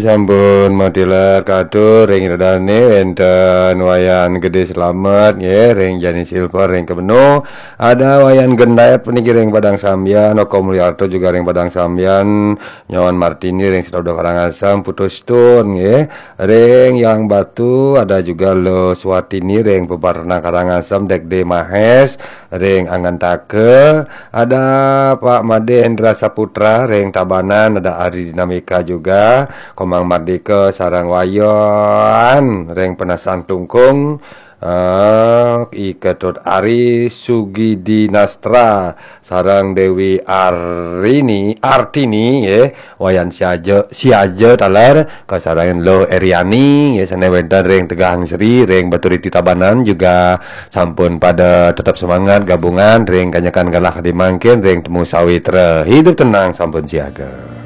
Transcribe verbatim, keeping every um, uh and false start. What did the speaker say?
Sampun matilar katur ring ida dane wenten Wayan Gede Slamet nggih, ring Jani Silver ring Kebeno, ada Wayan Gendet puniki ring Padang Sambian, Oko Mulyarto juga ring Padang Sambian, Nyoman Martini ring Sidoarjo Karangasem, Putu Stone nggih, ring Yang Batu, ada juga Lo Swatini ring Peparna Karangasem, Dekde Mahes ring Angantaka, ada Pak Made Hendra Saputra ring Tabanan, ada Ari Dinamika juga, Komang Mardika sareng Wayan ring Penasan Klungkung, eh, I Ketut Ari, Sugi Dinastra sareng Dewi Arini, Artini nggih, Wayan Siaja, Siaja taler, kasarengin Lo Eriani nggih, sane wenten ring Tegahan Sri ring Baturiti Tabanan juga sampun pada tetep semangat gabungan ring Kanyekan Galah Kadi Mangkin ring Temu Sawitra. Hidup tenang, sampun siaga.